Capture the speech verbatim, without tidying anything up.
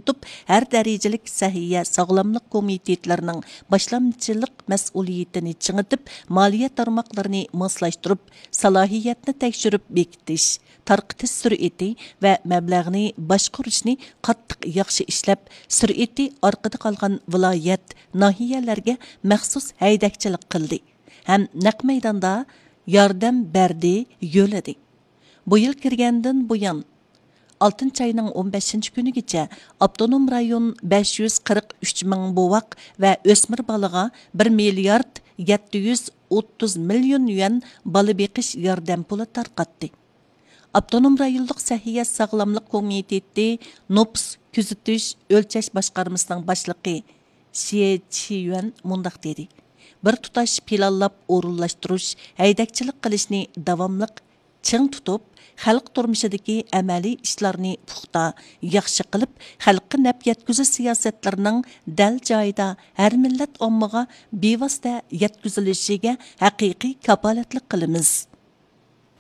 تۇتۇپ، ھەر دەرىجىلىك سەھىيە ساغلاملىق كومىتېتلىرىنىڭ باشلامچىلىق مەسئۇلىيىتىنى چىڭىتىپ، مالىيە تارماقلىرىنى ماسلاشتۇرۇپ، سالاھىيەتنى تەكشۈرۈپ بېكىتىش، تارقىتىش سۈرئىتى ۋە مەبلەغنى باشقۇرۇشنى قاتتىق ياخشى ئىشلەپ، سۈرئىتى ئارقىدا قالغان ۋىلايەت، ناھىيەلەرگە مەخسۇس ھەيدەكچىلىك قىلدى ھەم نەق مەيداندا ياردەم بەردى، يۆلىدى. بۇ يىل كىرگەندىن بۇيان، ئالتىنچى ئاينىڭ ئون بەشىنچى كۈنىگىچە ئاپتونوم رايون بەش يۈز قىرىق ئۈچ مىڭ بوۋاق ۋە ئۆسمۈر بالىغا بىر مىليارد يەتتە يۈز ئوتتۇز مىليون يۈەن بالا بېقىش ياردەم پۇلى تارقاتتى. ئاپتونوم رايونلۇق سەھىيە ساغلاملىق كومىتېتى نوپۇس كۆزىتىش ئۆلچەش باشقارمىسىنىڭ باشلىقى شيې چيۈەن مۇنداق دېدى: بىر تۇتاش پىلانلاپ ئورۇنلاشتۇرۇش، ھەيدەكچىلىك قىلىشنى داۋاملىق چىڭ تۇتۇپ، خەلق تۇرمۇشىدىكى ئەمەلىي ئىشلارنى پۇختا، ياخشى قىلىپ، خەلققە نەپ يەتكۈزۈش سىياسەتلىرىنىڭ دەل جايىدا ھەر مىللەت ئاممىغا بىۋاسىتە يەتكۈزۈلۈشىگە ھەقىقىي كاپالەتلىك قىلىمىز.